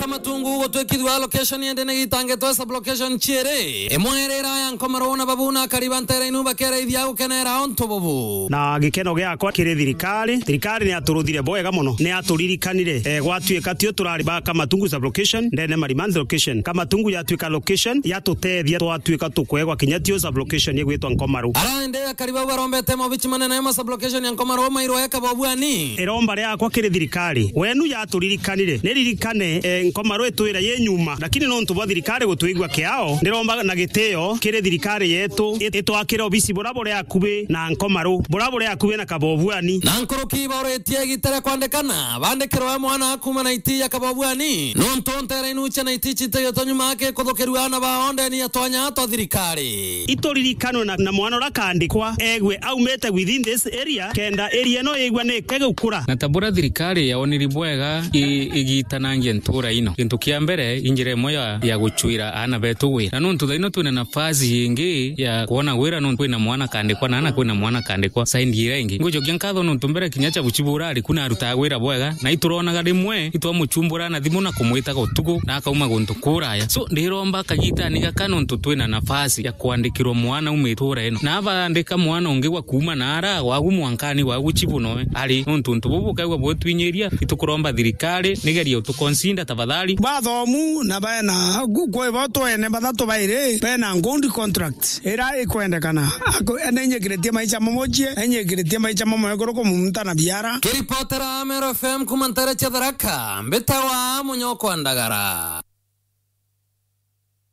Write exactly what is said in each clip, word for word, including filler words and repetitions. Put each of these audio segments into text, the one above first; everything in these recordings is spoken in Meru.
Kamatungu gutwikithua location indi ni gitangitwe sub location ciiri. Imwe iri iraya Nkomaru na Babu na akari ba ntere inu bakeraithia gukenera untu bubu. Na gikeno giakwa kiri thirikari, thirikari ni yaturuthire bwega mono, ni yaturirikanire. Eh, gwatuika tio turari ba Kamatungu sub location, ndene Marimanthi location. Kamatungu yatuika location, yatuteethia twatuika tukwegwa kinya tio sub location igwitwa Nkomaru. Ara indi akari bau barombete maobichi manene ya ma sub location ya Nkomaru mairwe eka bobwani. Iromba riakwa kiri thirikari, wenu yaturirikanire, niririkane, eh, Nkomaru itwira yi nyuma, lakini nontu bwa thirikari gutwigua kiao, ndiromba na gitio kiri thirikari yetu, it-, itwakire obisi bura buri akubi na Nkomaru, bura buri akubi na Kabobuani. Na nkuruki bauritie igita ria kwandikana, bandikirwe mwana kuuma na iti ya Kabobuani, nontu ntere inu cia na iti citayotwa nyuma ake kuthukirua ana bao ndeni ya twanya twa thirikari. Ituririkanwe na, na mwana uria akandikwa, egwe aumite within this area, kenda area ino igwe ni kegukura. Na ta buria thirikari yaoniri bwega i-, igitanangia ntura ino. Gintu kia mbere, i njira imwe ya, ya gucwira aana betu wira. Na nontu thaino twina nafasi ingi ya kwona wira, nontu kwina mwana akandikwa, na ana kwina mwana akandikwa, side iria ingi. Ngucokia nkatho nontu mbere kinya cha buchibura ari kuna arutaga wira bwega, na ituronaga rimwe itwamuchumbura na thimu na kumwitaga utuku, na akauma guntu kuraya. So, ndiromba kagitani gaka nontu twina nafasi ya kwandikirwa mwana uma itura ino. Na abandika mwana ungi gwa kuuma na ara, gwagu mwankani, gwagu chibu noe ari. Nontu untu bubu bukaigua butwinyiria, itukuromba thirikari, nigeria utuconsider tafadhali. Bathomu na bena gu-, kwi bo twene bathatu bairi, bena good contract. Ira ikwendekana. Ako-, nenyikiritie maisha mamochie, nenyikiritie maisha mamwe iguru kumunta na biara. Kiripotera Meru F M kuma ntere cia Tharaka, mbitawa Munyokwa Ndagara.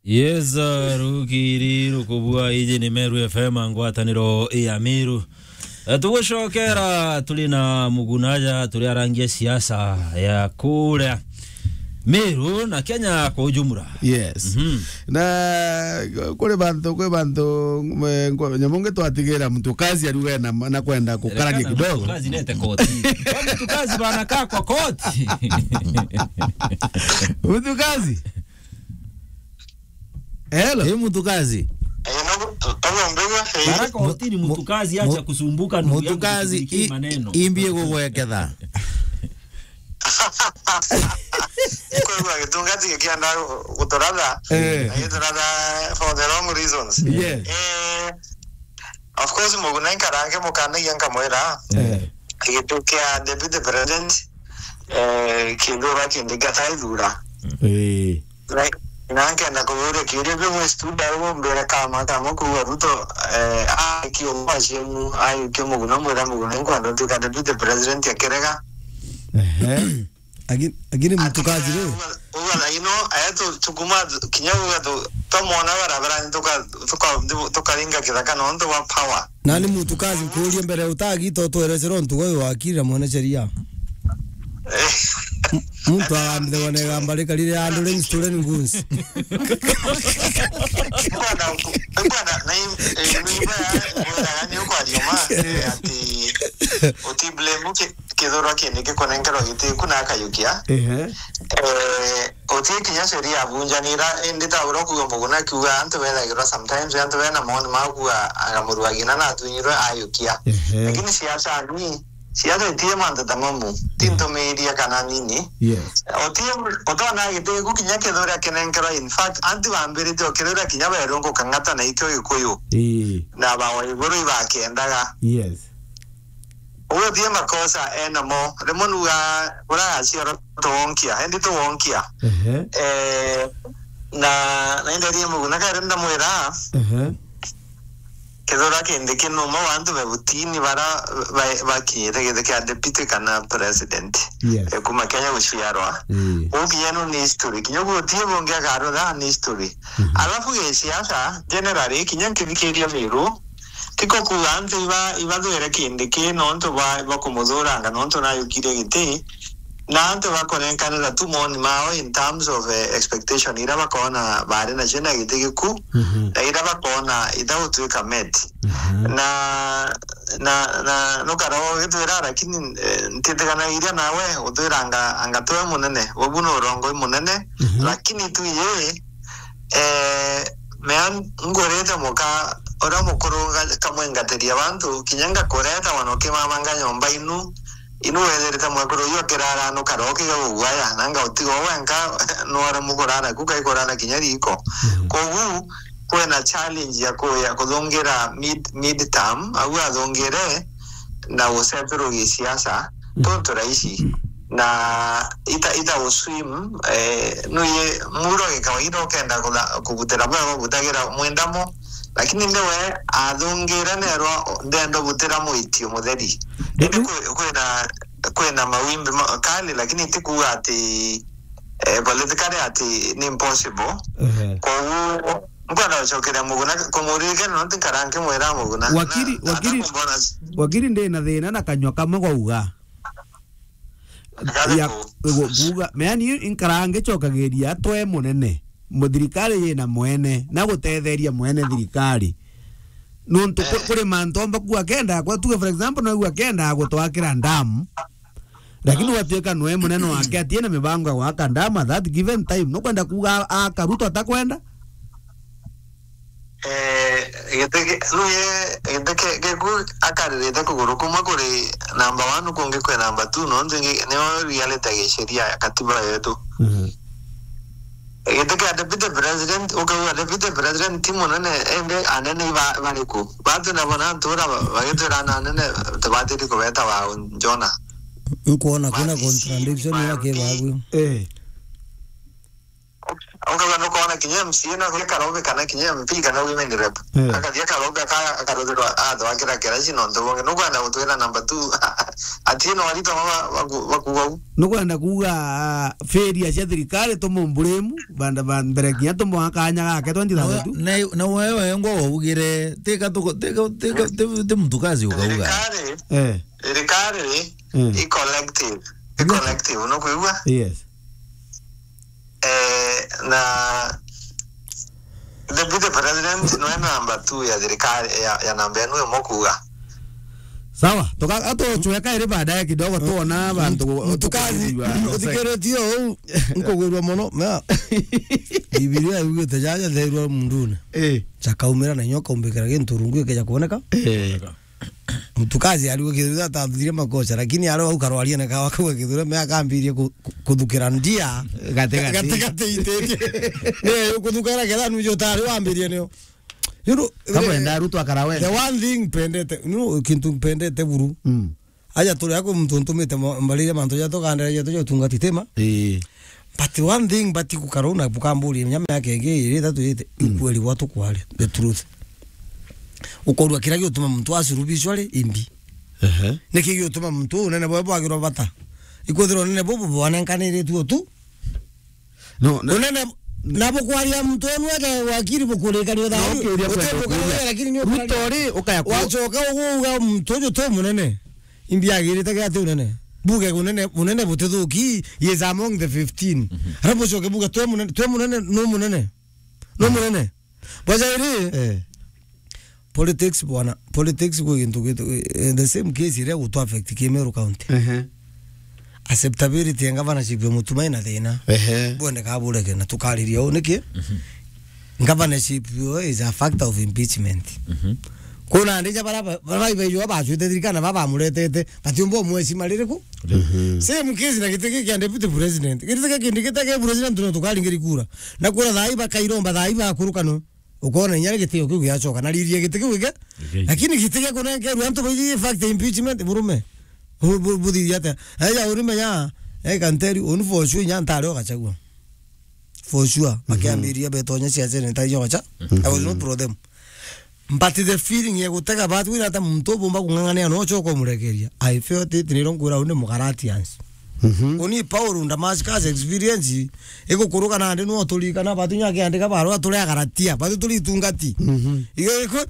Yes, rukiri rukubua, iji ni Meru F M, ngwataniro ya Meru. Eh, tugucokera, turi na Muguna aja, turi arangia siasa ya kuria Meru na Kenya kwa ujumla. Yes. Mhm. Na kuri bantu, kwi bantu, eh, nyamu ngi twatigira mtu kazi aruge na, na kwenda kukarania kidogo. Mtu kazi nete koti. Kwa mtu kazi bana kaa kwa koti. Mtu kazi. Hello. Hii mtu kazi. Eh, no, kama mbega, eh. Baraka Otini, mu-, mtu kazi, acha mu-, kusumbuka, ndugu yangu, mtu kazi, shughulikia i-, maneno. Imbie gugweketha. Kwigua gitungati gikienda guturatha. Eh. Na gituratha for the wrong reasons. Yes. Eh, of course, Muguna inkarange mukanagia nkamwira. Eh. Gitu kia deputy president, eh, kindu ba kindi gataithura. Eh. Na, na nkenda kuuria kiuria kiu, mwi studio au mbere kama, kama kuuga Ruto, eh, aikie mwaciemu, aikie Muguna, mwira Muguna, nkwenda ntuika deputy president akirega. Ehe. Agi-, agiri mtu kazi ri? Uga, uga thaino, aya tu, tukuma, kinya uga tu, twamwona barabara, tuka, tuka, tukaringa kithaka nontu bwa power. Nani mtu kazi nkuurie mbere utagita utwerecera untu uyu wakirira mwene sheria. Eh. M-, muntu agambithagwa na igamba rikarire andu ri stolen goods. Bwana, bwana, na im-, eh, imba ya, imba ya, ni ukwaria ma, eh, ati, uti blame ki-, kithurwa kindi gikunenkerwa giti ku na akayukia. Ehe. Eh, uti kinya sheria abunjanira, indi ta uria kuuga Muguna akiuga, antu bethagirwa sometimes, antu bena maoni ma kuuga, anga muru agina na atwinyirwe ayukia. Ehe. Lakini siasa ni, siasa itie mantu ta mamu, ti ntumiiria kana nini. Yes. Uti, utona giti ku kinya kithura kinenkerwa, in fact, antu bambirite o kithura kinya berungu kang'ata na ikio Gikuyu. Ii. Na bawa iguru ibakendaga. Yes. Uguo ti makosa enamo. Rimwe nuga, uraciarwa tuwonkia, endi tuwonkia. Ehe. Eh, na, na inderie Muguna kari ndamwira, ehe, kithura kindi kinuma wantu be butini bara ba-, bakinyite giti kia deputy kana president. Yes. Eh, kuma Kenya guciarwa. Ii. Ukienu ni history. Kinya guo ti bungi akarutha ni history. Mhm. Alafu gisiasa, generally, kinya nkithikiria Miru, tiko kuuga antu iba-, ibathwire kindi ki nontu bwa, bwa kumuthuranga nontu nayukirie giti, na antu bakunenkanira tu moni mao in terms of, eh, expectation iria bakona bari nacio na giti giku, mhm, na iria bakona itagutwika met. Mhm. Na, na, na nukara ugitwira, lakini, eh, ntitikanagiria nawe utwira anga, anga twe munene, ubu ni urongoi munene, mhm, lakini tu ye, eh, mea ngurite muka uria mukuru nga-, kamwingatiria bantu, kinya ngakureta wana ukimamanga nyomba inu, Inu wethirite mwekuru uyu akirara nukara ukiga gugwaya, nanga utiga wenka, nwara mukurara ku, kaikurara kinya riko. Mhm. Kogu, kwina challenge ya ku-, ya kuthungira mid, mid term, au athungire na gusetirwo gisiasa, Mm. tontu raisi. Mm. Na ita, ita uswim, eh, nuye muro gikawaida ukenda kutha-, kubutira bwega, ubutagira mwendamo, lakini ndiwe athungire nerwa ndenda butira mwitio mutheri. Indi Riu kwi-, kwina, kwina mawimbi ma-, kali, lakini ti kuuga ati, eh, politically ati ni impossible. Ehe. Koguo, nkwenda gucokeria Muguna, kumuririkana nontu nkara nkimwira Muguna. Wakiri, Na, wakiri, atakumbona s- wakiri ndi na thina na kanyua kamwe gauga. Gari ya ku- gu-, kuuga, yani, inkaraa ngicokagiria twe munene, mu-, thirikari yina mwene, na gutetheria mwene thirikari. Nontu ku-, Eh. kuri mantu omba kuuga kenda, kwa tuge, for example, no kuuga kenda gutwakira dam, lakini Ah. gwatuika nwe munene wake atie na mibango ya gwaka dam at that given time, nukwenda kuuga a-, aka Ruto atakwenda? Eh, giti ki-, nuye, giti ki-, giku akaririte kuguru kumwe kuri number one, kungi kwi number two, nontu ingi niyo reality ya gisheria ya katiba yetu. Mhm. Giti kia deputy president, ukauga deputy president ti munene, indi anene iba-, bariku? Batu nabo na ntura ba-, bagitwira na anene tubatiri kubeta wa Jona. Nkuona kwina Wabici, contradiction ya maruti. Kibabu. Eh. Ukauga nukona kinya M C A no gwe karobe kana kinya M P kana women rep. Eh. Akathia karobe aka-, akaruthirwa atho akira kiraci nontu bungi. Nukwenda gutwira number two. Ati no arito ba-, baku-, bakuuga u. Nukwenda kuuga, ah, failure cia thirikari tumumbulemu, banda ba mbere kinya tumuha kanya gake twenty thirty-two. Na we-, na wewe ngo waugire, tika tuko-, tika, tika, ti, ti mtu kazi ukauga. Thirikari, Eh. thirikari Eh. i collective. I Yes. collective, nukwigua? Yes. Eh, na deputy president nwe namba two ya thirikari ya, ya namba enu imwe kuuga. Sawa, tuka-, atuchweka iri baadaye kidogo, tuona bantu gu-, Mtukazi, guthikiritie uu, nkugwirua mono. Na Bibilia yugite jaja therua mundune. Eh. Chakaumira na nyoka umbikira gintu rungu ikeja kuoneka. Eh. Mtukazi ariwe kithira atathire makosa, lakini ari au karwaria na kawa kau kithira me akambirie ku-, ku-, kuthukira ndia. Gati, gati. Gati, gati itetie. Ne, kuthukira ketha nujo tari wambirie nio. You know, Kamwenda eh, Ruto akara wenda. The one thing pendete, you know, kintu pendete buru. Mm. Aja turi ako muntu ntumite mo-, mbarire mantu ja tugandira ja tujo tungati tema. Eh. But one thing, but kukaruna bukamburi, menya miaka ingi iri ithatu ite, Mm. ukweli bwa tukwari, the truth. Ukorwa kira giutuma muntu acurubicwa ri, imbi. Ehe. Niki giutuma muntu unene bwe bwagirwa bata? Ikwithirwa unene bubu bwanenkanire tu tu. No, na Unene, na bukwaria muntu onu eke wakiri bukurikania No, thayu. kiuria kwenda Utebuka kuuria. Lakini ni Ruto ri, ukaya ku- Wacoka uguga muntu uju tu munene. Imbi agirite gati unene. Buge unene, unene butithuki, he is among the fifteen. Mhm. Arabu ucoke buge twe munene, twe munene, no munene. No munene. Bwaja iri, Eh. politics bwana, politics gwi gintu gitu, eh, the same case iria gutu affect Kimeru County. Ehe. Acceptability ya governorship ya Mutuma ina thina. Ehe. Bwende kabureke na tukariria u niki? Mhm. Governorship yo is a factor of impeachment. Mhm. Kuna ndija bara, bara, bara, bara, bara, bacwite thirikari na baba bamuretete, batiumba umwecima ririku? Mhm. Same case na giti giki kia deputy president. Giti giki kindi gitege president no tukaringiri kura. Na kura thai bakairomba thai bakurukano. Ukona inya gitio kiu giacoka. Na riria giti kiu gike. Gike. Lakini giti gia kunenkerwa antu baiji fact impeachment burume. Bu-, bu-, buthiria atia? Eja urime ya, I can tell you, unu for sure inya ntari ogachagua. For sure. Mhm. Makiambiria betonya cia Senate ijo gacha. Mhm. I was not pro them. But the feeling ya gutega batu ira ata muntu ubumba kung'ang'ania no choka umurekeria. I felt it niro ngwira undi Mugalatians. Mhm. Uni Paul Damascus experience igukuruka nandi no turikana batu nyake andika barua turi Agalatia, batu turi itungati. Mhm. Igo iko,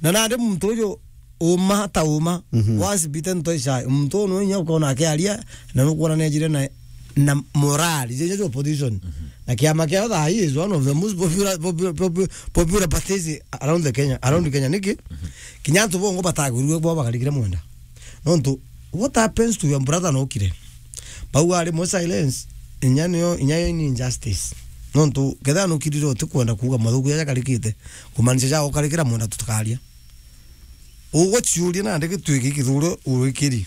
na nandi muntu uyu uma ta uma, Mhm. once bitten twice shy. Muntu unu inya ukona akiaria, na nukwona nejire na, na morali, jeje opposition. Mhm. Na kiama kia thaa hii is one of the most popular, popular, popular, popular parties around the Kenya, around Kenya, niki? Mhm. Kinya antu bongo batagwirue bo bakarikire mwenda. Nontu, what happens to your brother nokire? Bau ari mo silence, inya niyo, inya yo ni injustice. Nontu, ketha nukirire utikwenda kuuga mathuku jaja karikite, kumaanisha ja ukarikira mwenda tutakaria. Ugo ciuria nandi gitwiki kithure urikiri.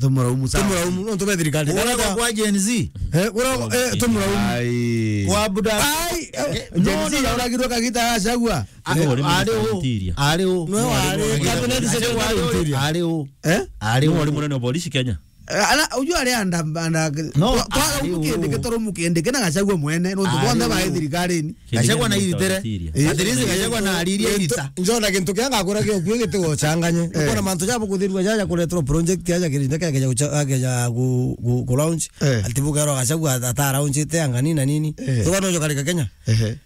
Tumuraumu sana. Tumuraumu, nontu be thirikari. Kuragwa kwa Gen Z. Eh, kuragwa, eh, tumuraumu. Ai. Kwa Abu Dhabi. Ai, eh, Gen Z yauragirwe kagita ya Gachagua. A-, ari u? Ari u? No, ari u. Cabinet secretary interior. Ari u? Eh? Ari u? Ari munene wa polisi Kenya. Eh, ana, ujua ari anda, anda, no, twa-, twa-, ari u. Mukindiki, turu Mukindiki na Gachagua mwene, nontu bonthe bae thirikarini. Gachagua na iritere. Eh. At least Gachagua na aririe irita. Njona gintu kia ngakura kio kio gitigochanganye. Eh. Ukona mantu ja bukuthirua ja, ja kureterwa project ya, ja kirinda kia, kia, kia, kia ku, ku, ku launch. Eh. Ati bukerwa Gachagua ata launch ite anga nini na nini. Eh. Tuka no jo karika Kenya. Ehe.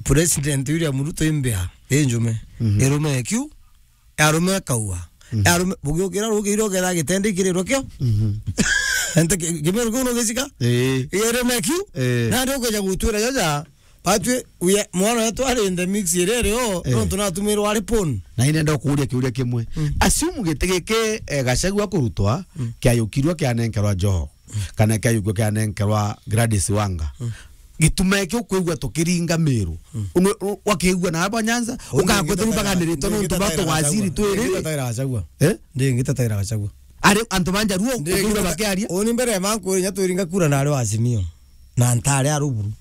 President William Ruto imbea, injume. Mhm. Irume kiu. Arume kaua. Mhm. Arume, bugiukira rukiire uketha gitende ikirirwe kio. Mhm. Ente ki-, kimeru kiu nugicika? Ii. Irume kiu? Ii. Nandi ukeja gutwira jaja, batwi, uye, mwana wetu ari in the mix iria irio, ii, nontu natumirwe ari pon. Na inenda kuuria kiuria kimwe. Mm. Assume giti giki, eh, Gachagua kurutwa, mm, kiayukirwe kianenkerwa Joho. Kana kiayukua kianenkerwa Gladys Wanga. Mm. Gituma kio kwigua tukiringa Meru. Mm. Unu-, u-, wakiigua na aba Nyanza, ukakwithirwa baganiritwe nontu ba tugwaciri twiri. Ndingitataira Gachagua. Eh? Ndingitataira Gachagua. Ari antu ba Njaruo, ukiigua bakiaria. Uni mbere ya manku, inya twiringa kura na ari wa Azimio. Na ntari a ruburu.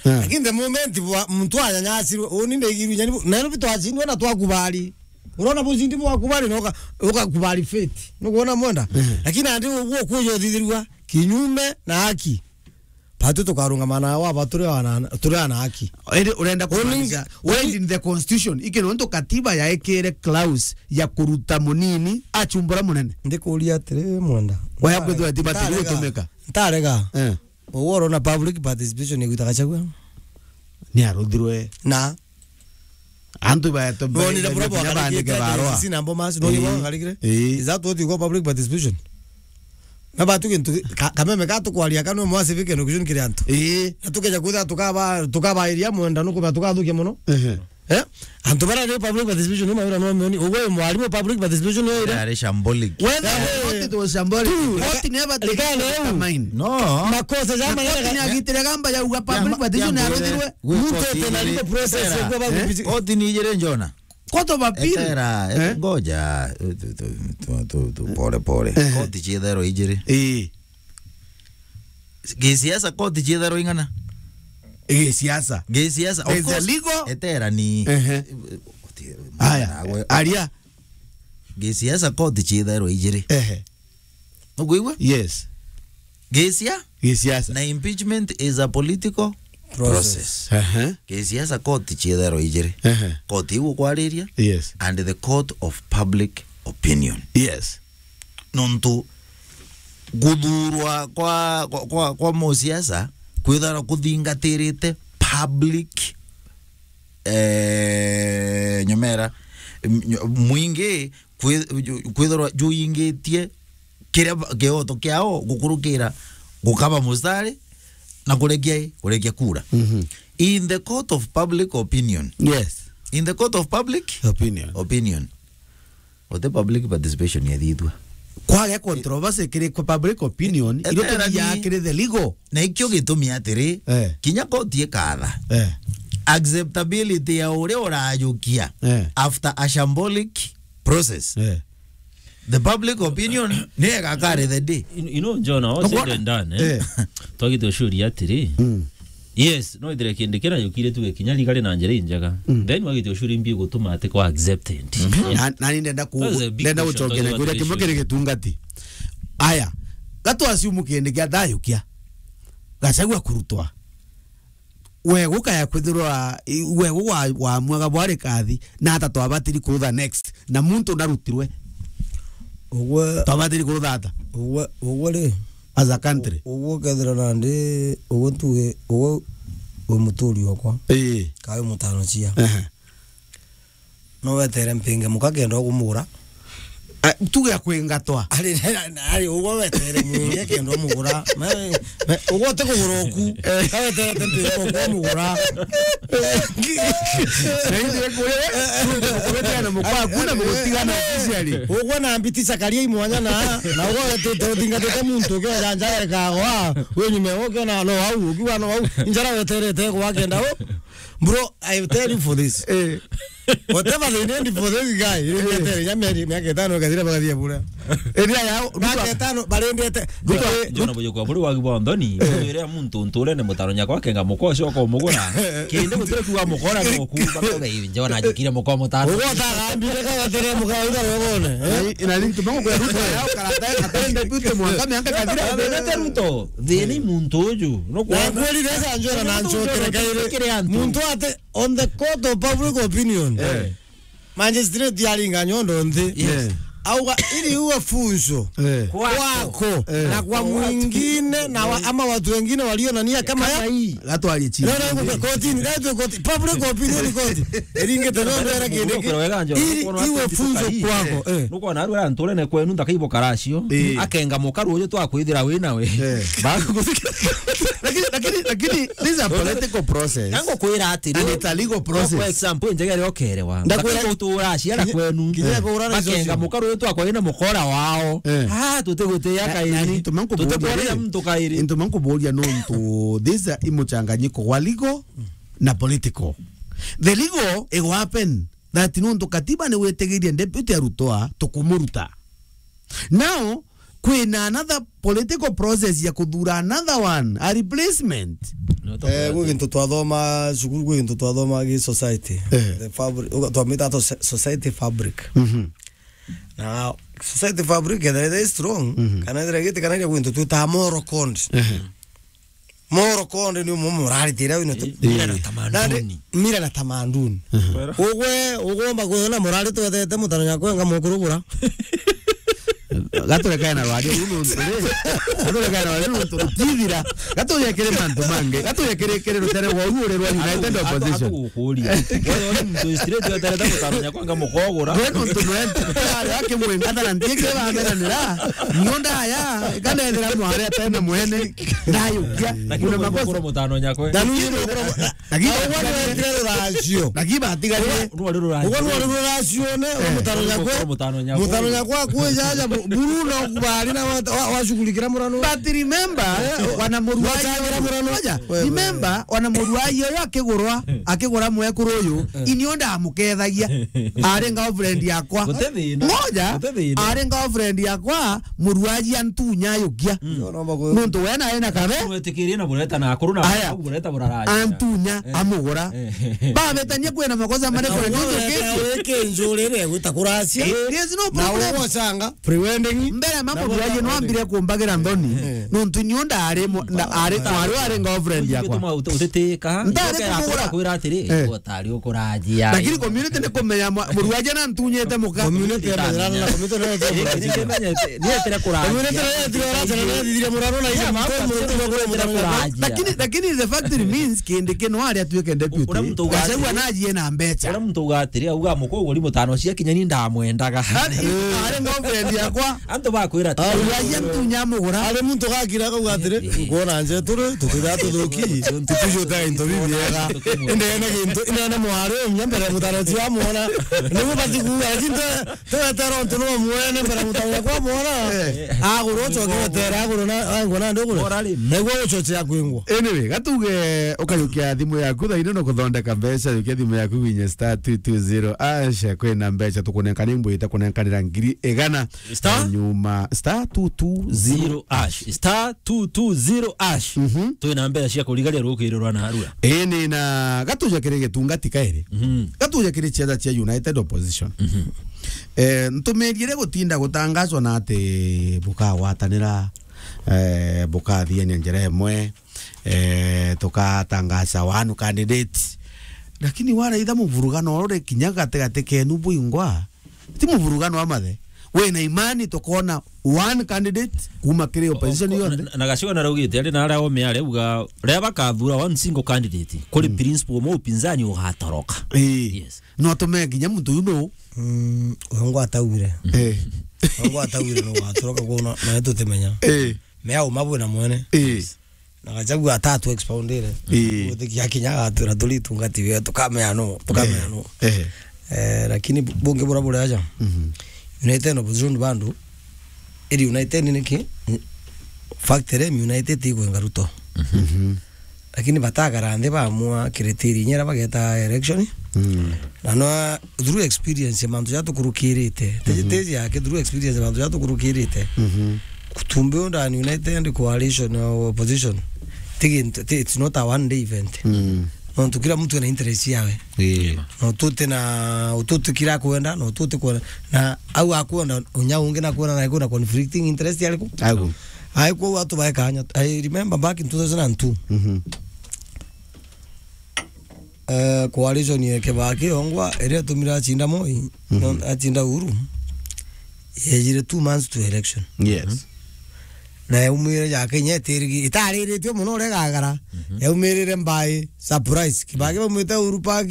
Eh. Lakini the moment bwa, muntu anyanyasirwe, uni ndigirwe nyani bu-, Nairobi twacindwe na twakubali. Urona bucindi bwaku bari na uka-, ukakubali fate. Nukwona mwenda? Mhm. Lakini andi uguo kuja uthithirua kinyume na haki. Batu tukarungama na wa ba turi ana, turi ana haki. Indi urenda kumaanisha, uni-, winding the constitution, iki nontu katiba yaikire clause ya kuruta munini achumbura munene. Ndikuria atiri mwenda. Waya kwithwa tiba tiri gutumika. Ntarega. Eh. Uguo urona public participation igwita Gachagua? Ni aruthirwe. Na? Antu baeto. Nonire bura bwakarikite barua. Sina mbo mas, nonire bwakarikire. Ii. Is that what you call public participation? Na batu gintu ki-, ka-, kameme ka tukwaria kanu mwa civic education kiri antu. Ii. Na tukeja kwitha tukaba, tukabairia mwenda nukuba tukathukia muno. Ehe. Eh? Antu bara ni public participation, ni mawira no moni. Ugwe mwarimu public participation ni ira. Ari shambolic. Whether, eh, not it was shambolic. Koti ni aba determine. No. Makosa ja manene. Koti ni agitire gamba ya uga public participation ya ruthirwe. Muntu ete na legal process ya kwa public. Koti ni ijire njona. Court of appeal. Etera, eh? Ngoja, tu, tu, tu, pole, pole. Eh. Koti cietherwa ijire. Ii. Gisiasa koti cietherwa ing'ana? Gisiasa. Gisiasa. Of course, legal. Etera ni. Ehe. Aya. Aria. Gisiasa koti cietherwa ijiri. Ehe. Nukwigua? Yes. Gisia? Gisiasa. Na impeachment is a political process. Ehe. Gisiasa koti cietherwa ijiri. Ehe. Koti iu ukwariria. Yes. And the court of public opinion. Yes. Nontu guthurwa kwa, kwa, kwa, kwa musiasa kwithirwa kuthingatirite public, eh, nyomera, m-, nyo-, mwingi kwi-, ju-, kwithirwa juingitie kiria ba-, kioto kiao gukurukira gukaba mustari na kurekia, kurekia kura. Mhm. In the court of public opinion. Yes. In the court of public opinion. Opinion. Ote public participation yethithua. Kwage controversy kiri kwa public opinion, e-, irio etera turia ni kiri the legal. Na ikio gitumi atiri, eh, kinya koti ikatha, eh, acceptability ya uria urajukia, eh, after a shambolic process. Eh. The public opinion ni egakare the day. You, you know, John, all said and done, eh? Eh. Twagite ucuria atiri, mm. Yes, no ithire kindi kira yukire tuge kinya rigari na njira injega. Mm. Then wagite ucuria imbi gutuma ati kwa accepted. Mhm. Yeah. Na, na ni ndenda ku-, that's a big ndenda question, gucokeria kuria kimwe kiri gitungati. Aya, gatu assume kindi kia thayukia. Gachagua kurutwa. We gukaya kwithirwa, i-, we gwa-, wamwaga bwari kathi, na ata twabatiri kurutha next. Na muntu ndarutirwe. Ugwe twabatiri kurutha ata? Ugwe, ugwe ri? As a country. U-, ugwe kethira nandi, ugwe tuge, ugwe wi muturi okwa. Ii. Kawe mutano cia. Ehe. No wetere mpinge muka kenda ukumugura. Ah, tuge akwingatwa. Ari, ari, ugwe wetere mwingi kenda umugura. Me, me, ugwe uti kugura uku. Eh. Ka weterete mpinge ukumugura. Na ithe kuria, kuria na mukwa, kuna mugutigana officially. Ugwe na mbiti cakaria imwanya na, na ugwe wetete uthingatite muntu ukiwa janja ekagwa. We nyume ukiona no au, ukiwa no au. Njara weterete kwa kenda u. Bro, I tell you for this. Eh. Whatever they need for this guy, eh, miaka itano, miaka itano, kathira bagathia bure. Area ya Ruto. Ngaka etano, barendete. Ruto, Ruto. Jona boyo kwa buri wagi bwa nthoni, wire muntu nturene mutano nyakwa akenga mukoa ucio ukomugura. Kindi gutire kuga mukora no kuga ko gai njona njikire mukoa mutano. Ugota gambire ka gatere mukoa ida rogone, eh? Na, na ni tumangu kwa Ruto ya ukarata, atende pute mwaka miaka kathira. Thina ti Ruto, thina i muntu uju. No. Na kwona kweri resa njora na njokere kaire. Kiri antu. Muntu ate on the court of public opinion. Eh. Magistrate aringa nyondo nthi. Yes. Auga, ili uwe funzo. Eh. Kwako. Kwako. Eh. Na kwa mwingine, na wa-, ama watu wengine walio na nia kama ya hii. Gatwarie chini. No, no, kotini, gatwe koti-, public opinion court. Eringe tena mbere kende ki-, ili iwe funzo kwako. Eh. Nuko na arwera nturene kwenu ndakaibo karacio. Eh. Akenga mukaru uyu twakwithira wi nawe. Eh. Bakuguthika. Lakini, lakini, lakini, this is a political process. Nango kwira atiri. And it's a legal process. For example, njegere okerewa. Ndakwira. Ndakaibo utura aciara kwenu. Kinya kuura na bakenga mukaru uyu twakwa ina mukora wao. Eh. Ah, tutigutia kairi. Tutikwarira muntu kairi. Into mankuburia nontu, this is a imuchanganyiko wa legal na political. The legal, it will happen that nontu katiba ni witigirie deputy arutwa, tukumuruta. Now, kwina another political process ya kuthura another one, a replacement. Eh, gwi gintu twathoma cukuru, gwi gintu twathoma gi society. Eh. The fabric, uga-, twamita to se-, society fabric. Mhm. Na society fabric, ethira ithire strong, mhm, kana ithire giti, kana iria gwi gintu twitaga moral code. Ehe. Moral code ni umwe muraritira wino tu. Eh, mila na tamaduni. Nandi, mila na tamaduni. Mhm. Ugwe, ugomba kwona murari twethete mutano nyakwa enga mukurugura. Gaturekae na rwaria ruu nontu ri. Gaturekae na rwaria ruu nontu rutithira. Gaturia kiri mantu mangi. Gaturia kiri, kiri rutere rwa uru uri rwa United Opposition. Atu-, atu-, atugukuria. Wewe uri muntu straight weterete mutano nyakwa enga mukogura. Gwe nontu nwe ari akimwenga thara ntie kiri bamenanira. Nio ndaya, ikanethira mware atena mwene. Ndayukia. Lakini kuna makosa. Mutano nyakwa. Na nunye mukura mu-, na, na kiba ugwa ni wetire ruracio. Na kiba atigarire. Ugwa ni wari ruracio. Ugwa ni wari ruracio ne, eh, mutano nyakwa. Mutano nyakwa. Mutano nyakwa kwe jaja bu-, buru na kubari na wa, wa, washughulikira murano. But remember, eh, wana muruaji. Wachagira murano. Ngoja. Wewe. Remember, wana muruaji uyu akigurwa, akigura mwekuru uyu, eh, inio ndamukethagia. Ari girlfriend yakwa. Gute thina. Ngoja, gute thina. Ari girlfriend yakwa, muruaji antunya ayukia. Mm. Nontu we nae na kabe. Mwetikirie na bureta na akuru na aya, bureta buraraja. Antunya, eh, amugura. Eh. Babetania kwina makosa mane na kwa njuke. Weke njurire gwita kuracia. Eh, there's no problem. Na ugocanga. Pre-wedding. Mbere mama muruaji no ambire kumbagira nthoni. Eh. Nontu nio ndari mu-, na ari, ari, ari girlfriend yakwa. Utitikaga. Ndari kumugura. Kwira atiri, eh, utari ukurajia. Lakini community ni kumenya mwa-, muruaji na ntunyite muka. Community ya majirani na community na yote. Ni etire kurajia. Community na yote, ora sana, ni etire murano na ile mtu murano. Lakini, lakini the fact remains, kindi kino ari atuike deputy. Gachagua na ajie na mbecha. Ura muntu ugatiri, auga muko uguri mutano cia kinya ni ndamwendaga. Ari, ari girlfriend yakwa. Antu bakwira ati, ah, uria aia ntunya mugura. Ari muntu gakira akauga atiri, eh, eh, nkuona nje turi, tutira tuthuki, tutujo ta into bibiega. Indene gintu, indene mwari, nya mbere mutano cia muona. Nigu bati kuuga, lakini te, te wetera untu no mwene mbere mutano kwa muona. Eh. Aguru ucoke wetera, aguru na, angwa na nduguru. Niguo ucoche ya kwingwa. Anyway, gatuge ukajukia thimu yaku thaino no kuthondeka mbeca, jukia thimu yaku gwinye star two two zero hash, kwina mbeca tukunenka, ni mbwite kunenkanira ngiri igana. Star? Nyuma, star two two zero hash. Star two two zero hash. Mhm. Twina mbeca cia kurigaria rukiri rwa narua. Ii, ni na gatuja kiri gitungati kairi. Mhm. Gatuja kiri ciaca cia United Opposition. Mhm. Eh, ntumirie gutinda gutangazwa na ati bukagwatanira, eh, bukathiania njira imwe, eh, tukatangaza one candidate. Lakini waraitha muvurugano uri kinya gatigati kenu bwingwa, ti muvurugano wa mathe. Wina imani tukona one candidate kuma kiri opposition yonthe? Na, na Gachagua naraugite ari na aria ome ari uga, riria bakathura one single candidate, kuri principal umwe upinzani ugatoroka. Ii. Yes. No tume kinya muntu uyu no. Mm, wangu ataugire. Eh. Wangu ataugire no watoroka kuona, na tutimenya. Eh. Mea uma bwina mwene. Eh. Na Gachagua atatu expoundire. Ii. Gutikia kinya agatwira turi itungati we, tukamea no, tukamea no. Eh. Eh, lakini bu-, bungi bura buri aja. Mhm. United na opposition bandu, iri United niki? Factory United ikwenga Ruto. Mhm. Lakini batagara nthi bamua criteria inya iria bageta election. Mm. Na no through experience ya mantu jatukurukirite. Teje, mhm, teje yake through experience ya mantu jatukurukirite. Mhm. Kutumbe unda an united coalition or opposition. Tigi, it's not a one day event. Mm. Nontu kila mtu ana interest yawe. Yeah. No tute na, ututikira kwenda, no tute kwenda. Na au akwenda, unya ungi na kwenda na kuna conflicting interest yaliku. Agu. Ai kwa watu baekanya. I remember back in two thousand and two. Mhm. Eh, coalition ya Kibaki ongwa, iria yatumire achinda Moi, mhm, no, achinda Uhuru, yejire two months to election. Yes. Mhm. Na yaumire ya Kenya itirigi-, itariritie muno uria igagara. Mhm. Yaumirire by surprise. Kibaki, mhm, baumite Uhuru Park,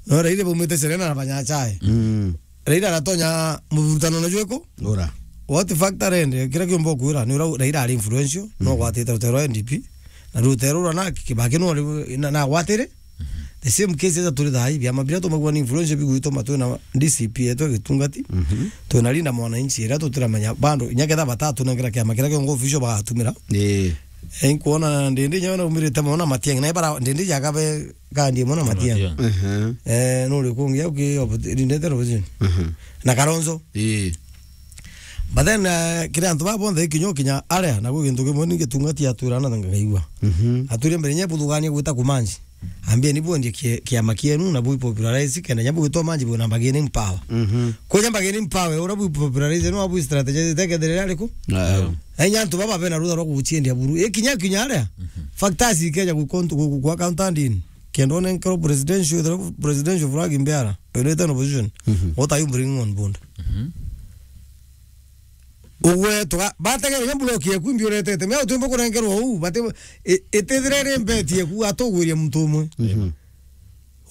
no Raila baumite Serena na banywa chai. Mm. Raila aratonya muvurutano na jweko? Ura. What factor ende, kira kiumba kwira, ni ura Raila ari influential, no, mhm, gwatite rutero rwa N D P, na rutero rwa na Kibaki no ari na, na gwatire. Mhm. The same case eza turi thai, biama biria tumagua ni influential bigwituma twina D C P yetu gitungati, mhm, twina Linda Mwananchi, iria tutiramenya bando, inya ketha batatu nengera kiama kiria kiongo official bagatumira. Eh. Eh, nkuona Ndindi nyawe naumirite mono Matiang'i, na ibara Ndindi jakabe kandi mono Matiang'i. Matiang'i. Mhm. Eh, nuri kungi au ki oppo-, Ndindi opposition. Mhm. Na Kalonzo. Ii. But then, eh, kiri antu ba bonthe ikinyo kinya aria, na gwi gintu kimwe ni gitungati atwira na ngaigua. Mhm. Atwire mbere nye buthugania gwita kumanji. Ambia ni bwendie ki-, kiama kienu na bwi popularize kenda nya bwitwa manji bwina bargaining power. Mhm. Kunya bargaining power, ura bwi popularize no bwi strategy tekethirira riku? Ah. Enya antu baba bena rutha rwa guchiendia buru. Ikinya kinya aria. Mhm. Factors ikeja ku, ku, ku, ku account ndini. Kenda one nkero presidential, presidential flag mbiara. United opposition. Mhm. What are you bringing on board? Mhm. Ugwe tuga, bategere nya block yeku imbi uretete. Mea utumba kurengerwa uu, bate, i-, itithire ri mbeti yeku atugwiria muntu umwe. Mhm.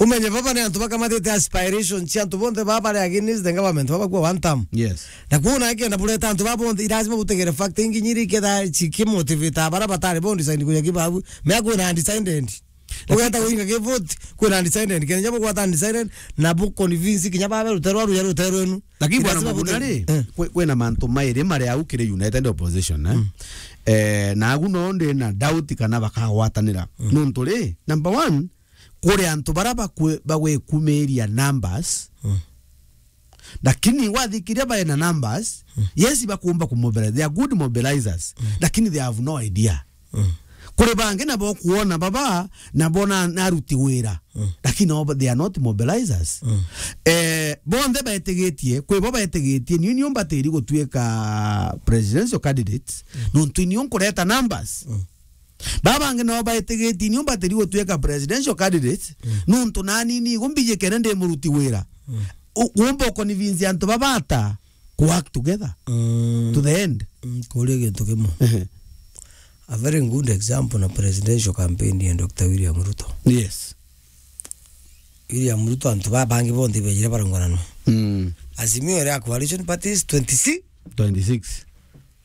Umenye baba ni antu bakamatite aspiration cia antu bonthe baba bari against the government, baba kwa one term. Yes. Na kuona akenda bureta antu baba bonthe, lazima butegere fact ingi nyiri ketha chikimotivate bara batari bo design kuya kibabu. Mea kwina undecided. Ugeta kuinga ki vote, kwina undecided. Kenya bo gwata undecided, na bu convince kinya baba ruterwa ruya ruterwa enu. Lakini bwana Muguna ri, eh, kwe-, kwina mantu mairi mari au kiri United Opposition, eh? Mm. Eh, na agu no ndi na doubt kana bakagwatanira. Mm. Nontu ri, number one, kuri antu bara bakwe-, bagwikumiria numbers. Mm. Lakini wathikiria bae na numbers, mm, yes, bakumba kumobilize. They are good mobilizers. Mm. Lakini they have no idea. Mm. Kuri bangi nabo kuona baba, nabo na, na aruti wira. Mm. Lakini no, they are not mobilizers. Mm. Eh, bonthe betigitie, kwi bo betigitie, niu niu mbatiri gutuika presidential candidates, mm, nontu niu nkureta numbers. Mm. Baba bangi nabo betigitie, niu mbatiri gutuika presidential candidates, mm, nontu nani nigo mbijikene ndi muruti wira. Mm. U-, umba uconvince antu baba ata ku work together, mm, to the end. Mm, kuria gintu kimwe. Ehe. A very good example na presidential campaign ya Doctor William Ruto. Yes. William Ruto, antu ba bangi bonthe bejire barungananwa. Mm. Azimio iri a coalition parties twenty-six. Twenty-six.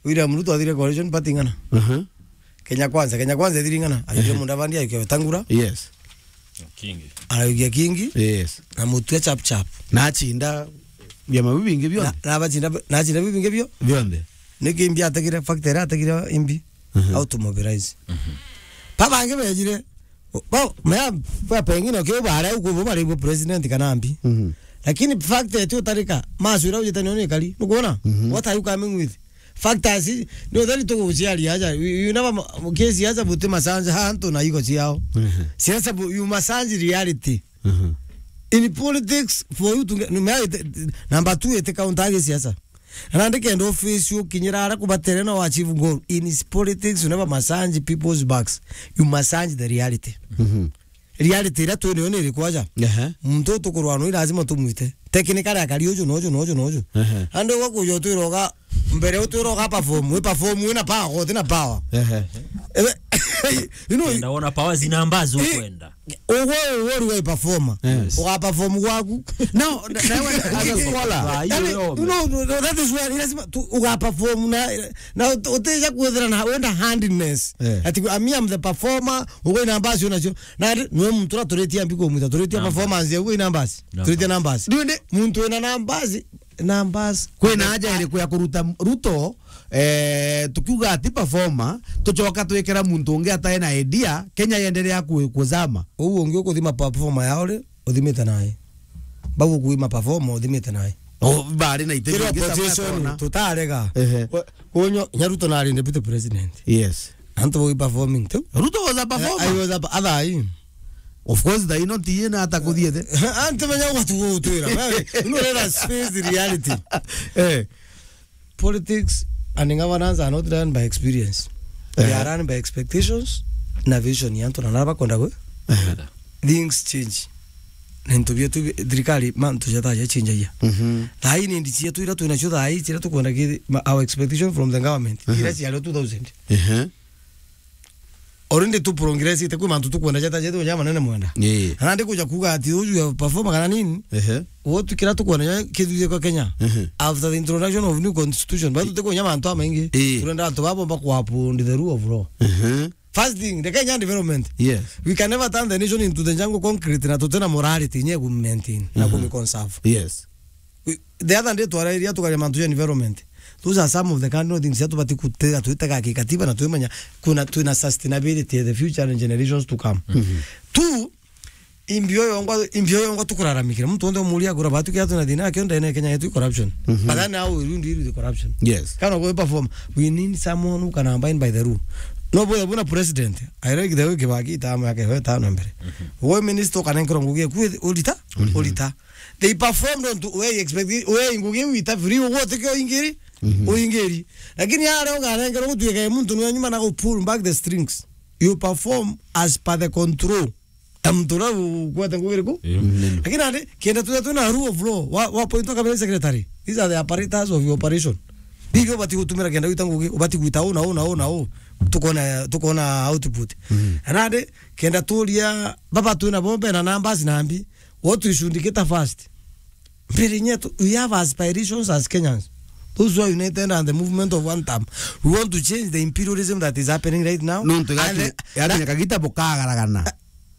William Ruto athire coalition party ng'ana? Aha. Kenya Kwanza, Kenya Kwanza ethiri ng'ana? Ayukia, ehe, Mudavadi, ayukia Wetangula. Yes. Kingi. Araukia Kingi. Yes. Na Mutua chap chap. Na achinda biama biu bingi bionthe. Na, na bachinda, na achinda biu bingi bio? Bionthe. Niki imbi ategire, factor iria ategire imbi? Mhm. How to mobilize. Mhm. Babangi bejire, bo, mea, ba pengine ukiu bare uko bo bari bo president kana mbi. Mhm. Lakini factor eti utarika, masu iria ujite niyo ni kari. Nukuona? Mhm. What are you coming with? Factors, ni utheri tuguciaria aja. You, you never ma-, kesi aja buti masanji ha antu na iko ciao. Mhm. Siasa bu-, you masanji reality. Mhm. In politics, for you to get, no, me, number two, ete counter agi siasa. Na ndikenda office ukinyira ara kubatere no achieve goal. In politics, you never massage people's backs. You massage the reality. Mhm. Reality iria twi nayo ni iriku aja? Ehe. Muntu utukurwa no lazima tumwite. Technically akari uju na uju na uju na uju. Ehe. Andi uga kuja utwira uga mbere utwira uga perform, we perform wina power, uti na power. Ehe. Ewe, you know, enda wona power zina mbazu, eh, kwenda. Ugo, ugo ruga performer. Yes. Uga perform gwaku. No, na, na, as a scholar. Ah, hiyo. Yani, yo, you know, that is where lazima tu, uga perform na, na ut-, utija kwithira na wenda handiness. Eh. Ati, I mean, I'm the performer, ugo ina mbazu nacio. Na ri-, niwe muntu uria turitie mbi kumwita, turitie performance ya ugu i numbers. Numbers. Turitie numbers. Riu ni muntu wina numbers, numbers. Kwina aja iriku ya kuruta Ruto, eh, tukiuga ati performer, tucoka twikira muntu ungi atai na idea, Kenya yenderea ku-, kuzama. Uu ungi ukuthima performer yao ri, uthimite nae. Bau kuima perform uthimite nawe. Oh, bari na ite. Kiri bingi sana opposition, akona. Tutarega. Ehe. Kunyo, nya Ruto nari deputy president. Yes. Antu bau performing tu. Ruto was a performer. I was a, athai. Of course, thaino ntiye na atakuthiete. Antu menya watu gutwira. Wewe, you know, let us face the reality. Eh. Politics and governance are not run by experience. They, eh, are run by expectations na vision ya antu na nara bakwenda gwe. Eh. Things change. Na into bietu bi-, thirikari mantu jataja change ya. Mhm. Thai ni ndi cietu ira twina cio thai, ira tukwenda ki, ma-, our expectation from the government. Mhm. Ira ciario two thousand. Ehe. Already tu progress ite kwi mantu tukwenda jata jetu ja manene mwenda. Ii. Na ndi kuja kuga ati uju ya perform kana nini? Ehe. Wotu kira tukwenda ja kithuthie kwa Kenya. Ehe. After the introduction of new constitution, batu tukwenda mantu amaingi. Ii. Turenda antu babo mba ku uphold the rule of law. Ehe. First thing, the Kenyan development. Yes. We can never turn the nation into the jungle concrete na tutena morality nye ku maintain na, mhm, ku conserve. Yes. We, the other day twarairia tukaria mantu ja environment. Those are some of the cardinal things that tubati kutega, twitega kikatiba na twimenya kuna twina sustainability ya the future and generations to come. Mhm. Two, imbio yongwa, imbio yongwa tukuraramikira. Muntu wonde umuria agura batu kia tuna thina kio ndene Kenya yetu corruption. Mhm. But then how will you deal with the corruption? Yes. Kana go perform. We need someone who can abide by the rule. No boy, buna president. I like the way Kibaki itama yake we tano mbere. Mhm. Wo minister kana nkiro ngugi ku ulita, ulita. Ulita. They performed on to where you expect, where ngugi wita free, ugo teke oingiri, mhm, oingiri. Lakini yale ugarengerwo gutuika muntu ni nyuma na go pull back the strings. You perform as per the control. Amtura ukwete ngugi iriku? Ii. Mm. Lakini ande, kienda tu tu na rule of law, wa, wa point kabisa secretary. These are the apparatus of your operation. Bibi ubati gutumira kienda wita ngugi, ubati gwita una, una, una, u. Tukona, tukona output. Mm. Anade, kienda turia, baba twina bombe na numbers na mbi. What we should get first. Mbere nyetu, we have aspirations as Kenyans. Those who are united and the movement of one term. We want to change the imperialism that is happening right now. Nontu and gaki, the, gaki kagita bukagaragana.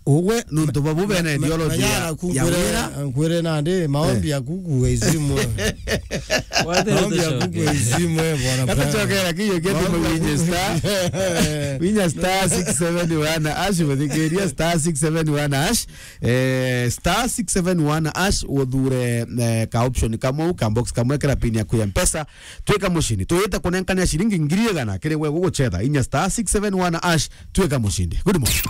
Ugwe, nontu babu bena ideology ya, ya wira. Nkwire nandi, maombi ya kuku ga isimu. Maombi ya kuku ga isimu, bwana. Katuchokera kiyo kietu. Maombi ya kuku. Winya star, winya star six seven one hash, muthikiria star six seven one hash. Eh, star six seven one hash, uthure, eh, ka option kamwe, ka box kamwe, kira pin yaku ya Mpesa, twika mushindi. Tuyite kunenkania shilingi ngiri igana, kiri we guguchetha, inya star six seven one hash, twika mushindi. Good morning.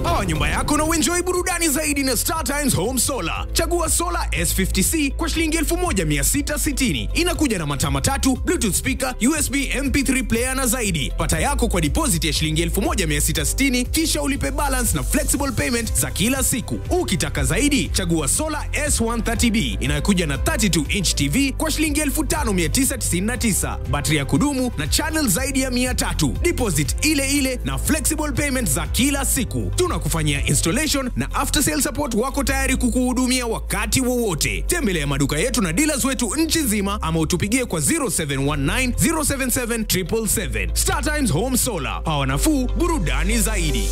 Power nyumba yako na uenjoy burudani zaidi na Star Times Home Solar. Chagua Solar S fifty C kwa shilingi elfu moja mia sita sitini. Inakuja na mataa matatu, Bluetooth speaker, U S B M P three player na zaidi. Pata yako kwa deposit ya shilingi elfu moja mia sita sitini, kisha ulipe balance na flexible payment za kila siku. Ukitaka zaidi, chagua Solar S one thirty B inayokuja na thirty-two inch T V kwa shilingi elfu tano mia tisa tisini na tisa, battery ya kudumu na channel zaidi ya mia tatu. Deposit ile ile na flexible payment za kila siku. Tunakufanyia installation na after sale support, wako tayari kukuhudumia wakati wowote. Tembelea maduka yetu na dealers wetu nchi nzima ama utupigie kwa zero seven one nine, zero seven seven, triple seven. Star Times Home Solar, power nafuu, burudani zaidi.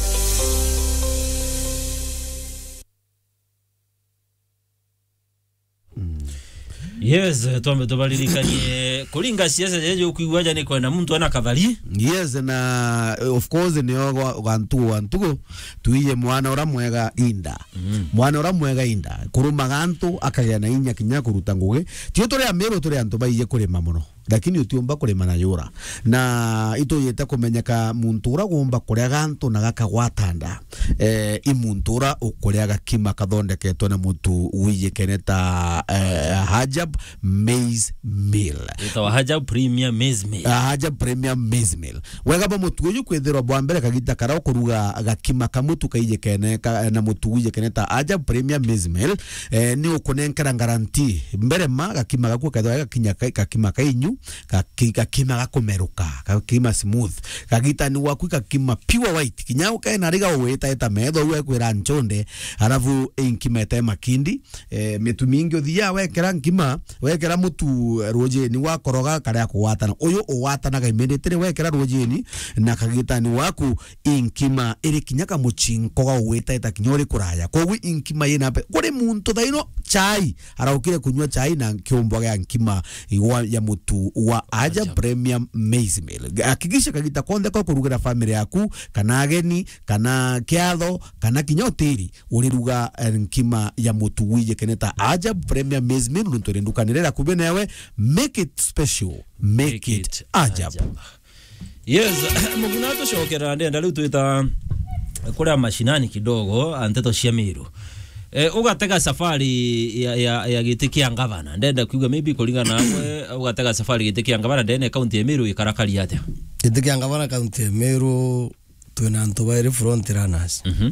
Yes, twambe tubaririkanie kuringa siasa jeje ukwigua aja ni kwenda muntu ana kathari. Yes, na, eh, of course, nio gwa-, gwa ntugu, gwa ntugu, tuiye mwana ura mwega inda. Mm. Mwana ura mwega inda. Kurumaga antu, akagia na inya kinya kuruta ngugi. Tio turi Amiru, turi antu baiye kurima muno. Lakini utiumba kurima na yura. Na ituyite kumenyeka muntu ura gumba kuria gantu na gakagwata nda. Eh, i muntu ura ukuria gakima kathondeketwe na mutu wijikene ta, eh, Hajab Maize Meal. Itawa Hajab Premier Maize Meal. Ah, Hajab Premier Maize Meal. Wega bwa mutu uyu kwithirwa bwa mbere kagita karia ukuruga gakima ka mutu kaijikene ka, na mutu wijikene ta Hajab Premier Maize Meal, eh, ni ukunenkera guarantee. Mbere ma gakima gaku kethwa gakinya ka, gakima kainyu, gaki-, gakima gakumeruka, gakima smooth. Kagitani waku gakima pure white. Kinya ukae na riga ugwitaita metho, uekwira nchonde, alafu inkima ete makindi, eh, mitu mingi uthia wekera nkima, wekera mutu, eh, rujini wakoroga karia kugwatana. Uyu ugwatanaga immediately wekera rujini na kagitani waku inkima iri kinya kamuchinko ga ugwitaita kinya uri kuraya. Koguo inkima yina mbe-, kuri muntu thaino chai, araukire kunywa chai na kiumbo gia nkima igwa ya mutu wa Ajab Ajab. Premium Maize Meal. Hakikisha kagita konthe ko kurugira family yaku, kana ageni, kana kiatho, kana kinya utiri, uriruga, eh, nkima ya mutu wije kene ta Ajab Premium Maize Meal, nontu iri ndukani iria iri akubi newe. Make it special. Make Make it it Ajab. Ajab. Yes, Muguna tucokerera, ndenda riu twita kuria mashinani kidogo, a nteto cia Miru. Eh, ugatega safari ya, ya, ya giti kia ngavana. Ndenda kuigua maybe kuringana nawe, ugatega safari giti kia ngavana ndene kaunti ya Miru ikarakari atia? Giti kia ngavana kaunti ya Miru, twina antu bairi front runners. Mhm.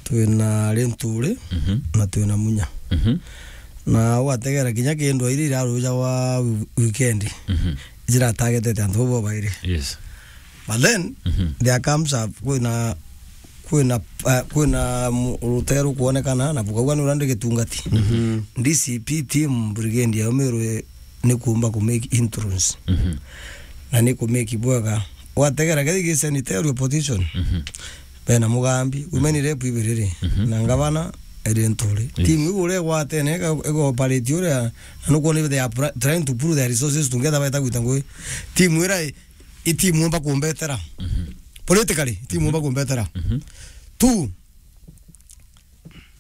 Twina Linturi Mhm. na twina Munya. Mhm. Na ugategera kinya kindu iria irarujagwa wi-, weekend. Mhm. Ijiratargetete antu bau bairi. Yes. But then, Mhm. there comes up, kwina, kwina, uh, kwina mu-, rutee rukwonekana, na bukauga ni uria ndi gitungati. Mhm. D C P team brigade ya Miru i-, ni kuumba ku make inroads. Mhm. Na ni ku make bwega. Wategera kethi gi senatorial position. Mhm. Bena Mugambi, women rep ibiri ri. Mhm. Na ngavana iri Linturi. Yes. Team iu uria igwatene, iga-, iga operate uria, na nukwona they are pra-, trying to pool their resources together baita gwita ngui. Team ira i, i team umba kumbetera. Mhm. Politically, team umba kumbetera. Mhm. Two,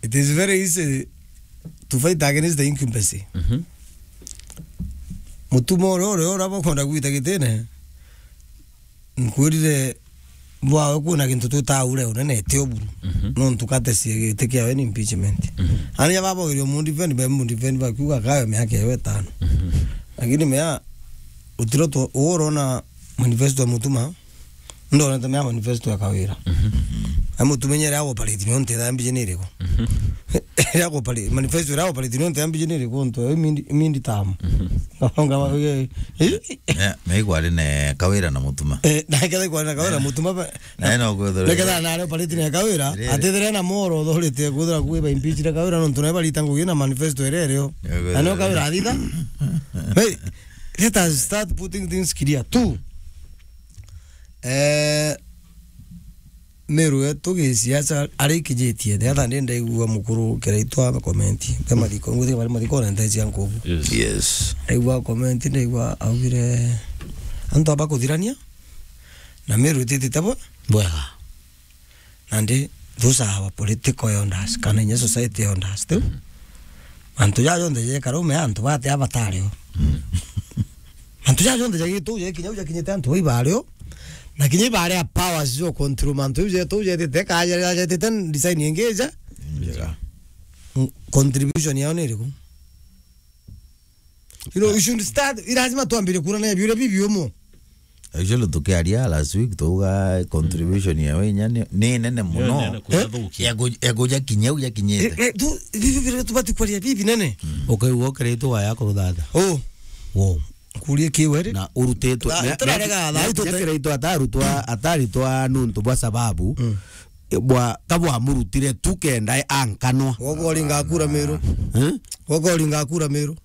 it is very easy to fight against the incumbency. Mhm. Mutuma uria, uria, uria bakwenda gwita gitine, nkwirire bwawe kwina gintu twitaga ure unene ti uburu. Mhm. Nontu katesie giti kiawe ni impeachment. Mhm. Ani ya babogerio mu defend, be mu defend bakiuga kayo miaka ewe itano. Mhm. Lakini mea utiro tu, urona manifesto ya Mutuma, ndonete mea manifesto ya Kawira. Mhm. Ai Mutuma inya ria operate ni onte ya mbiji ni iriku? Mhm. Ria operate, manifesto ria operate ni onte ya mbiji ni iriku? Onto ya mindi, mindi tamu. Mhm. Ngaba, ngaba, eh, eh. Eh, me ikwari ne Kawira na Mutuma. Eh, na ketha ikwari na Kawira na Mutuma ba-, na eno kwithira. Neketha na rio pariti ne Kawira, Riri. Atithire na moro authority kwithira kwi ba impeach ria Kawira nontu na barita ngugi na manifesto ere rio. Kwithira. Na no Kawira athitha. Hey, let us start putting things clear. Two, eh, Miru yetu gisiasa arikijitie, the other day ndaigua mukuru Kiraitu a comment. Be mathiko, nguthika bari mathiko na ntecia nkubu. Yes. Yes. Ndaigua comment, ndaigua augire, antu aba kuthirania, na Miru ititite bwe-, bwega. Nandi, those are our political elders, kana inya society elders, tu? Mm. Antu ja jonthe jekara ume antu bate abatari o. Mm. Mantu ja jonthe jagituje kinya u jakinyite antu bai bari o. Na kinya ibari a powers jo control mantu ju jetu jetite kaja jetite design ingi ja. Njega. Mm, contribution yao ni iriku? You know, you should start, i lazima twambire kurana biuria bibiumu. Actually, tukiaria last week, tuga contribution ya wenya ni, ni nene muno. Nene kujathukia. Ya ku-, ya kuja kinya u jakinyite. Eh, eh, tu, bibi, bibi, tubati kwaria bibi nene. Ukaigua ukiritwo waya kuruthatha. Oh. Wow. Kuria kiwe ri? Na urutitwe. Na, na, itararega, na, na, na, itararega. Kiritwo atarutwa, ataritwa nuntu bwa sababu. Mm. Bwa, kabwa murutire tu kenda ankanwa. Wogo ringa kura Miru. Eh? Wogo ringa kura Miru.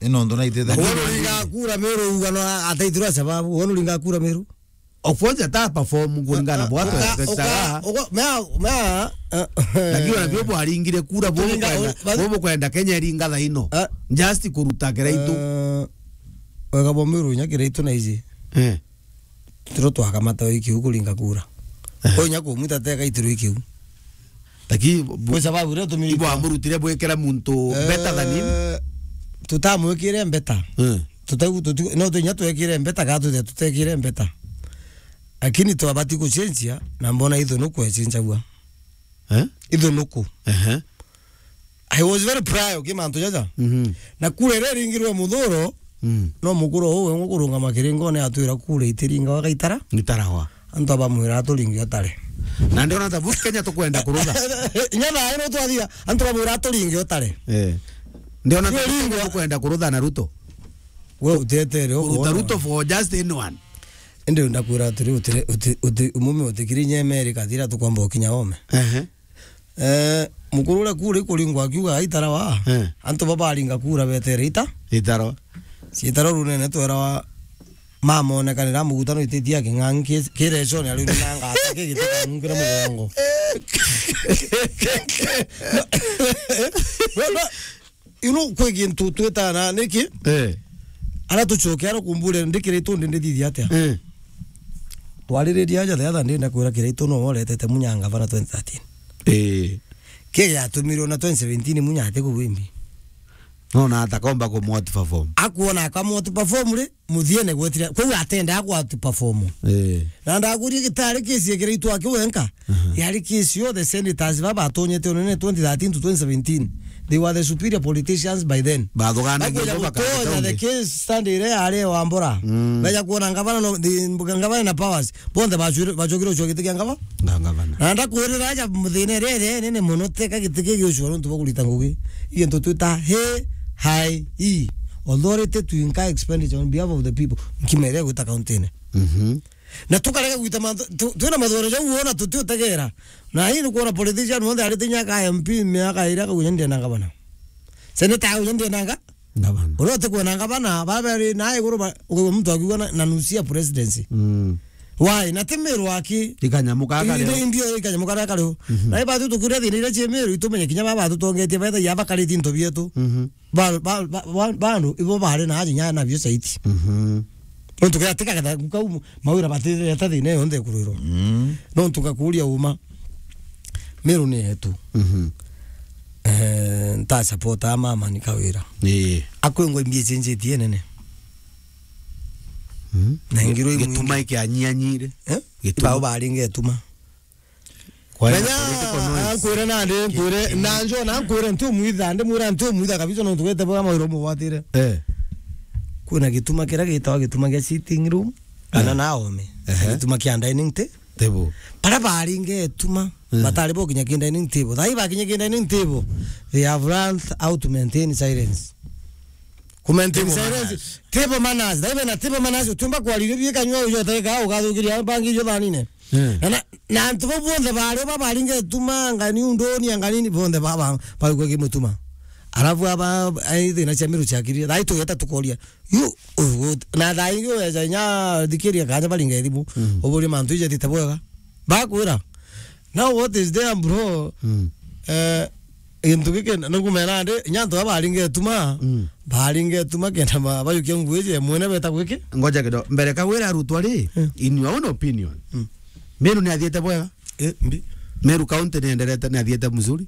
Ino ndo na itethania. Wono ringa kura Miru ugano ataitirwa sababu. Wono ringa kura Miru. Of course, ata perform kulingana na bwatu expectaga. Mea, mea, eh, lakini ona bio bwaringire kura bo kwenda, bo kwenda Kenya iringa thaino. Eh. Just kuruta Kiraitu. Eh, wega bo Miru nya Kiraitu na iji. Eh. Tiro twakamata ikiu kuringa kura. Eh. Ko nya kumwita teka itiro ikiu. Lakini bu-, kwa sababu rio tumiri ibo amurutire bwikira muntu better than him? Eh, tutamwikire better. Eh. Tutaigu-, tuti-, no tunya twekire better, kana tuthe tutekire better. Lakini twabati kucenjia, na mbona ithunuku ecenjagua. Eh? Ithunuku. Ehe. I was very proud ki mantu jaja. Mhm. Na kura iria iringirwe muthuro, mm, no mukuru uu we ngukurungama kiringone atwira kura itiringawa gaitara. Itarawa. Antu abamwira aturinge utare. Na ndiona ta bu Kenya tukwenda kurutha. Inya thaa ino twathia, antu bamwira aturinge utare. Eh. Ndiona ta bu Kenya tukwenda kurutha na Ruto. We utetere kuruta Ruto for just anyone. Indi ndakwira atiri, utire, uti, uti, umume utikiri inya America, thira tukwamba ukinya ome. Ehe. Eh, mukuru uria kura ikuringwa akiuga, "Aitarawa." Eh. Antu babaringa kura betere ita? Itarawa. Ciitarawa runene twerawa, mamonekanira mugutano ititia king'ang'i ki-, kireconi, ariu nanga atake gitikanungire mugongo. No, no, you know, kwi gintu twitana niki? Eh. Ara tucoke ara kumbure ndi Kiraitu ndi ndithithia atia? Eh. Twaririria aja the other day, ndakwira Kiraitu no woretete Munya ngavana twenty thirteen. Eh. Ki giatumirwe na twenty seventeen Munya ati kugwimbi. No na atakomba ku outperform. Akuona akamwa outperform ri, muthiene gwetire. Kwou atendaa ku outperform. Eh. Na ndakurie gitari kesi ya Kiraitu aki wenka. Mhm. Yari kesi yo the senators baba batonyete unene twenty thirteen to twenty seventeen. They were the superior politicians by then. Bathuganagia. Bakwenda ubo bakandika gutonya the ungi case stand iria yari ya Wambura. Mm. Baja kuona ngavana no, the, ngavana na powers. Bonthe bacure-, bacokire gucua giti kia ngava? Nga-, ngavana. Na ndakwirira aja muthina iria iri nene mono, teka giti kigicua nontu bwa kurita ngugi. Gintu twita H I E, authority to incur expenditure on behalf of the people. Nkima iria igwita kaunti-ini. Mhm. Na tukarega gwita mantu, tu-, twina mathuganio jau wona tutiutegera. Na hii ni kuona politician monthe arite inya ka M P miaka iria akauga, "Ndienda ngavana." Senator auga, "Ndienda nga-" Ngavana. Uria utikwona ngavana, baba ri na iguru ba, ukaigua muntu akiuga na, na nusu ya presidency. Mm. Why? Na ti Meru aki. Ikanyamu kaka. Indi, leo. Indi ikanyamu kaka kari ho. Mhm. Na ibatwi tukiuria thina iria cie Meru, itumenye kinya baba batutongetie, betha ya bakariti into bietu. Mhm. Ba, ba, ba, ba, bandu, ibo bari na aja inya nabio saiti. Mhm. Nontu kethira ti kagetha kau mawira batithirete thina yonthe ikurwirwa. Mm. Nontu ngakuria uma. Meru ni yetu. Mhm. Eh, nta support a mama ni Kawira. Ii. Akwingwa imbi icenjetie nene. Mhm. Na ingiro imwe. Gituma ikianyianyire. Eh? Gituma. Ibao baringe gituma. Kwa political noise. Menya, ankwire nandi, nkwire, na njo na nkwire nti umwitha, ndi mwira nti umwitha kabisa nontu wete bwa mawira umugwatire. Eh. Kwina gituma kiria gitawa gituma gia sitting room, kana, eh, na ome. Ehe. Gituma kia dining ta-, table. Bara baringe gituma, eh, batari bo kinya ki dining table. Thai bakinya ki dining table, they have learned how to maintain silence. Ku maintain silence. Table manners. Table manners. Thai bena table manners, utiumba kwariria bikanywa ujo teka ugathukiria bangi ijo thanine. Eh. Na, na, na antu bau bonthe bari ba baringe gituma, angani unduni, angani ni bonthe ba, ba, baigua kimutuma. Alafu aba, ai thina cia Meru ciakirire. Thai tugeta tukoria. Yu, u-, u-, na thaa ingi ugeca inya thikiria kanya baringa ithimu, mm, uburie mantu ijatite bwega. Bakwira, "Now what is there, bro?" Mm. Eh, gintu giki na kumera ndi, inya antu aba baringa ituma, mm, baringa ituma kenda ma-, bayukia ngugi ije mwene beta gwiki. Ngoja kidogo. Mbere Kawira arutwa ri, mm, in your own opinion, mm, Meru ni athiete bwega? Eh, mbi. Meru County ni enderete, ni athiete mzuri?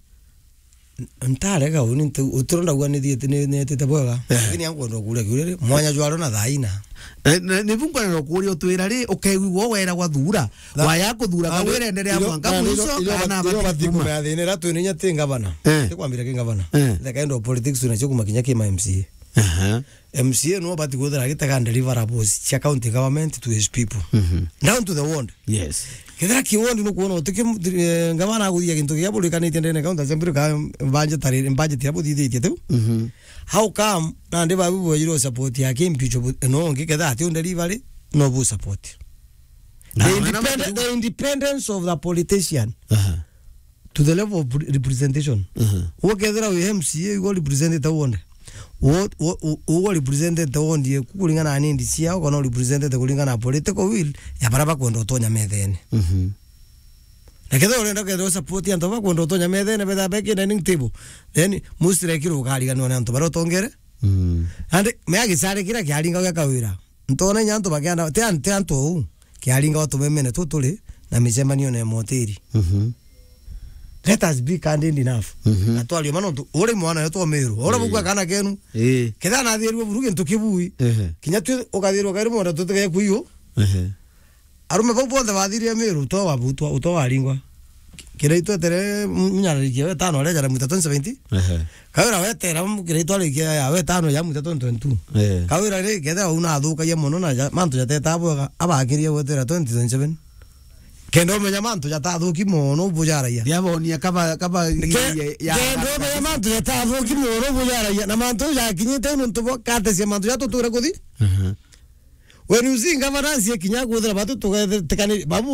N-, ntarega uni ntu-, uturo ndauga ni thiete, ni, ni etite bwega. Eh. Lakini ankwenda kuria kiuria ri, mwanya jwaro na thaina. Eh, na, ni bu nkwenda kuria utwira ri, ukegwigwa wera gwa thura. Tha-, waya kuthura ka wira endelea mwanka mwiso, kana bati kuma. Kumea thina ira twina inya ti ngavana. Eh. Ti kwambira ki ngavana. Eh. The kind of politics tunacio kuma kinya ki ma M C A. Aha. M C A no bati kwithira agitega deliverables cia county government to his people. Mhm. Down to the ward. Yes. Kethira ki ward nukwona uti ki, eh, ngavana aguthia gintu kia burikanitie ndene county assembly ka budget tari, budget ya buthithitie tu. Mhm. How come nandi babu bwajirwo support ya Kimpicho bu-, no ngi kethira ati undelivery no bu support? Na, the na, na, independent, the independence of the politician. Aha. To the level of pre-, representation. Mhm. Ukethira wi M C A, ugo represented wonde. Wo, wo, wo, ugo represented wonde ye kuringana na needs ciao, kana represented kuringana na political will ya bara bakwenda utonya methene. Mhm. Na kethira urenda kethira support antu bakwenda utonya methene, betha beki dining table. Then, mostly kiro ukariganwa na antu bara utongere. Mm. And me agicare kira kiaringa gwa Kawira. Ntona inya antu bakianda, ti an-, ti antu ou. Kiaringa o tumemene tu turi na micemanio na moteri. Mhm. Let us be candid enough. Mhm. Na twarie ma nontu uri mwana wetu o Meru. Ura bugua kana kenu. Eh. Ketha na thirwe buru gintu kibui. Ehe. Kinya tu ukathirwa kairi mwana tutige kuiyo. Ehe. Arume bau bonthe bathirie Meru, uto wabutwa, uto waringwa. Kira itwetere mu-, munyararikia wetano aria jara mwita twenty seventeen. Ehe. Kawira wetera mu-, kira itwarikia ya wetano ya mwita twenty twenty-two. Eh. Kawira ri, kethira una athukagia mono na ja-, mantu jateta bwega, abakirie gwetera twenty twenty-seven. Kenda umenya mantu jatathuki mono bujaragia. Yabonia kaba, kaba. Ke-, ya, ya, kenda umenya mantu jatathuki mono bujaragia. Na mantu jakinyite nontu bwa katesia mantu jatuture kuthi. Mhm. When you see governance ikinya kuthira batu tugetekani, babu